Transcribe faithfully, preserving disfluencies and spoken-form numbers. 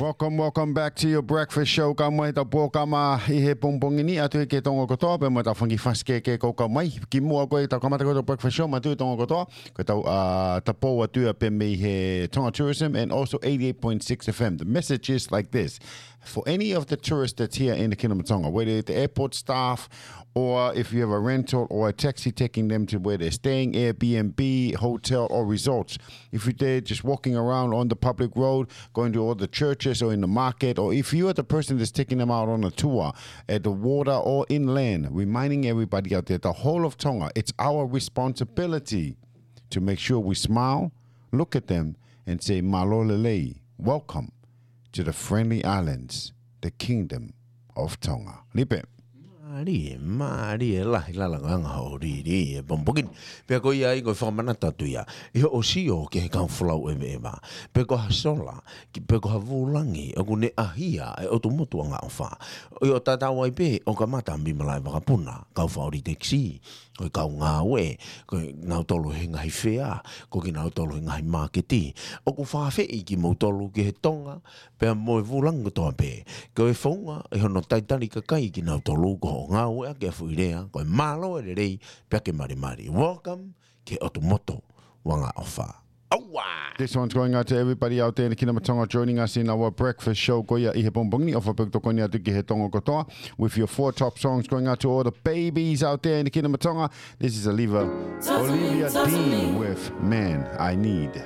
Welcome, welcome back to your breakfast show. Kau mai he tau pōkama ʻi he pongipongi ni, ʻatu ki he Tonga kotoa, pea mo e tau fanga kiʻi fasi kehekehe ʻoku kau mai. Kimuʻa ko ē ke tau kamata ko ē ʻetau breakfast show, manatuʻi Tonga kotoa, ko ʻetau, uh, tapou atu ia pē mei he Tonga Tourism and also eighty-eight point six F M. The message is like this. For any of the tourists that's here in the Kingdom of Tonga, whether it's the airport staff, or if you have a rental or a taxi taking them to where they're staying, Airbnb, hotel, or resorts, if you're there just walking around on the public road, going to all the churches or in the market, or if you are the person that's taking them out on a tour at the water or inland, reminding everybody out there, the whole of Tonga, it's our responsibility to make sure we smile, look at them, and say, "Mālō e lelei, welcome to the friendly islands, the Kingdom of Tonga." Lipe. Mālie, mālie lahi e lalanga ʻo e lī he pongipongi ni. Pea ko ia ai ko e fakamanatu atu ia ʻi hoʻo sio ki he kau folau ʻeveʻeva, pe ko ha sola, ki, pe ko ha vūlangi ʻoku ne ʻahia e ʻotu motu angaʻofa. ʻO tatau ai pē ʻo kamata mei malaʻe vakapuna, kau faʻu tekisī, ko e kau ngāue, ko kinautolu he ngaahi fea, ko kinautolu he ngaahi māketi. ʻOku fakaafeʻi kimoutolu ki he Tonga, pea mo e vūlangi kotoa pē, ko e founga ʻi hono talitali kakai kinautolu ko hoʻo ngāueʻaki ʻa e foʻi lea, ko e mālō e lelei, pea ke malimali. Welcome ki he ʻotu motu angaʻofa. ʻAua! This one's going out to everybody out there in the Kingdom of Tonga joining us in our breakfast show ko ia ʻi he pongipongi ni. ʻOfa pē ʻoku tokoni atu ki he Tonga kotoa with your four top songs, going out to all the babies out there in the Kingdom of Tonga. This is Olivia, Olivia Dean with Man I Need.